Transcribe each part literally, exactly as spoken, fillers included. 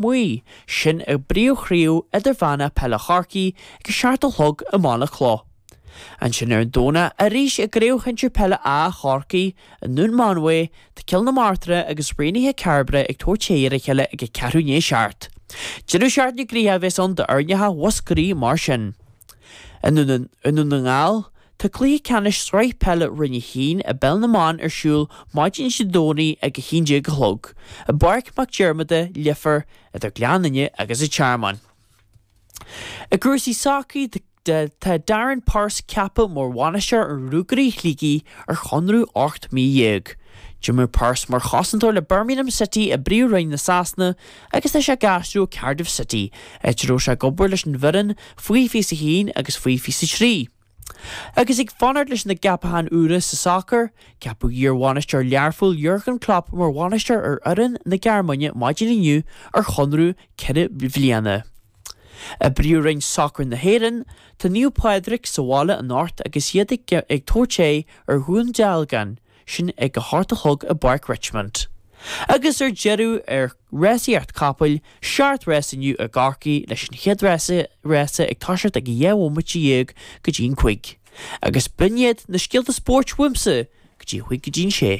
Muí, sin i bpríomhchraobh idirmheánach peile Chorcaí ag a seacht a chlog i Mullach Cloch. Ansin ar an Domhnach arís i gCraobh Shinsir Peile A Chorcaí i nDún Mánmhaí, tá Cill na Martra agus Raonaithe Cairbre ag tabhairt aghaidh ar a chéile ag a ceathrú i ndiaidh a seacht. Deireadh seachtaine gnoitheach a bheas ann d'fhoirneacha Mhúscraí mar sin. I nDún na nGall, tá cluiche ceannais Sraith Peile Roinn a hAon i bPeil na mBan ar siúl maidin Dé Domhnaigh ag a haon déag a chlog, i bPáirc Mac Diarmada, Leifear, idir Gleann Fhinne agus an Tearmann. I gcúrsaí sacair, tá Darren Purse ceaptha mar bhainisteoir ar Ruagairí Shligigh ar chonradh ocht mí dhéag. D'imir Purse mar chosantóir le Birmingham City i bPríomh-Roinn na Sasana agus tá sé ag aistriú ó Cardiff City, áit a raibh sé ag obair leis an bhfoireann faoi fiche a haon agus faoi fiche a trí. Agus ag fanacht leis na gceapachán úra sa sacar, ceapadh iar-bhainisteoir Learphoill Jurgen Klopp mar bhainisteoir ar fhoireann na Gearmáine maidin inniu ar chonradh ceithre bliana. I bPríomh-Roinn Sacair na hÉireann, tá Naomh Pádraig sa bhaile anocht agus iad ag tabhairt aghaidh ar Dhún Dealgan, sin ag a hocht a chlog i bPáirc Richmond. Agus ar deireadh ar rásaíocht capaill, seacht rás inniu i gCorcaigh leis an chéad rása ag toiseacht ag a dhá bhomaite dhéag go dtí an cúig. Agus b'in iad na scéalta spóirt uaimse go dtí a chúig go dtí an sé.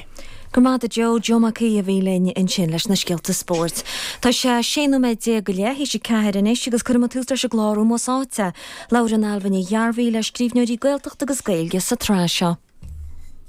Go raibh maith agat a Joe, Joe Mac Aoidh a bhí linn ansin leis na scéalta spóirt. Tá sé sé nóiméad déag go leith théis a ceathair anois agus cuirfidh muid tús leis an gclár Ómós Áite. Labhrann Ailbhe Ní Ghearbhuigh le scríbhneoirí Gaeltachta agus Gaeilge sa tsraith seo.